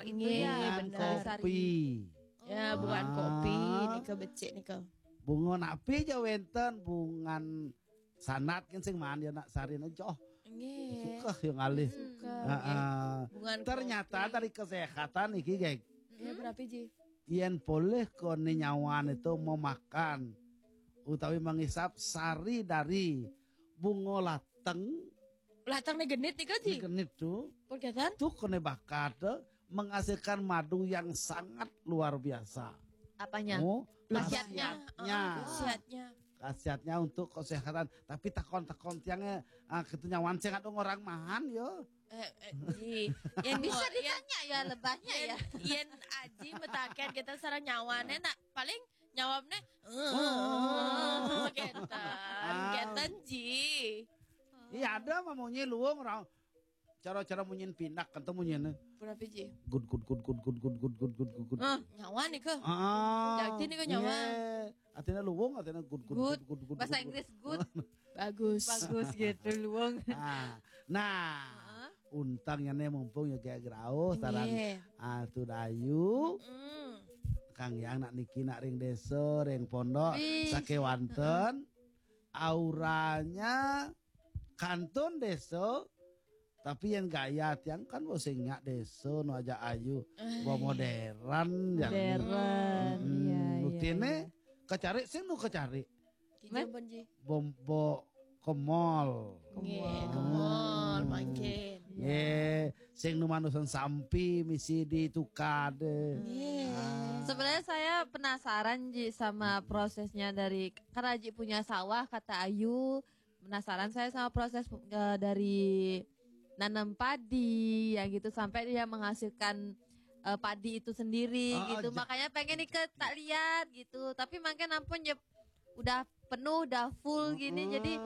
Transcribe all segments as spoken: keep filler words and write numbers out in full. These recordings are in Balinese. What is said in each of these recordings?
Nggih, bungan bener. Kopi. Ya, bungan kopi nika becik nika. Bunga napi ja wenten, bungan sanat kan sing maan ya nak sarin aja. Oh, nggih. Suka yang alih. Suka. Heeh. Bungan ternyata kopi. Dari kesehatan iki, geng. Ya, berapa ji? Yen polih kone nyawan itu memakan utawi mengisap sari dari bunga lateng. Lateng ne genit nika ji? Genit tuh. Perketan? Tuh kone bakat tuh menghasilkan madu yang sangat luar biasa. Apanya? Oh, khasiatnya. Khasiatnya. Khasiatnya untuk kesehatan. Tapi takon-takon tiangnya ah, kita nyawan sing ada orang mahan yo. Eh, eh, ji. Yang bisa ditanya ya lebahnya ya. Yang aji metaken kita sareng nyawane nak paling nyawabne oh, keten. Keten ji. Iya ada mah munyi luwung orang cara-cara munyin pinak kan tuh munyin. Berapa ji? Good good good good good good good good good good good. Ah, nyawa nih ke. Ah, jadi nih ke nyawa. Artinya luwung artinya good good good good good. Bahasa Inggris good. Bagus. Bagus gitu luwung. Nah, nah. Untang ya nih mumpung ya kayak gerauh sarang Atu Dayu. Kang Yang nak niki nak ring desa, ring pondok, sakewanten auranya kantun desa. Tapi yang gaya tiang kan bosing nyak desa nu aja ayu, bo modern ya. Modern. Iya, iya. Buktine kecari sing nu kecari. Kijaban ji. Bombo ke mall. Nggih, ke mall mangkin. Nggih, sing nu manusan sampi misi ditukade. Nggih. Sebenarnya saya penasaran ji sama prosesnya dari karena ji punya sawah kata Ayu. Penasaran saya sama proses eh, dari nanam padi ya gitu sampai dia menghasilkan eh, padi itu sendiri gitu. Makanya pengen nih ke tak lihat gitu. Tapi makin ampun ya udah penuh, udah full gini. Jadi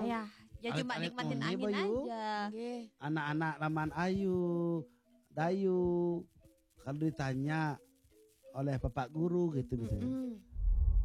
ayah ya cuma nikmatin angin aja. Anak-anak Raman Ayu, Dayu, kalau ditanya oleh Bapak Guru gitu misalnya.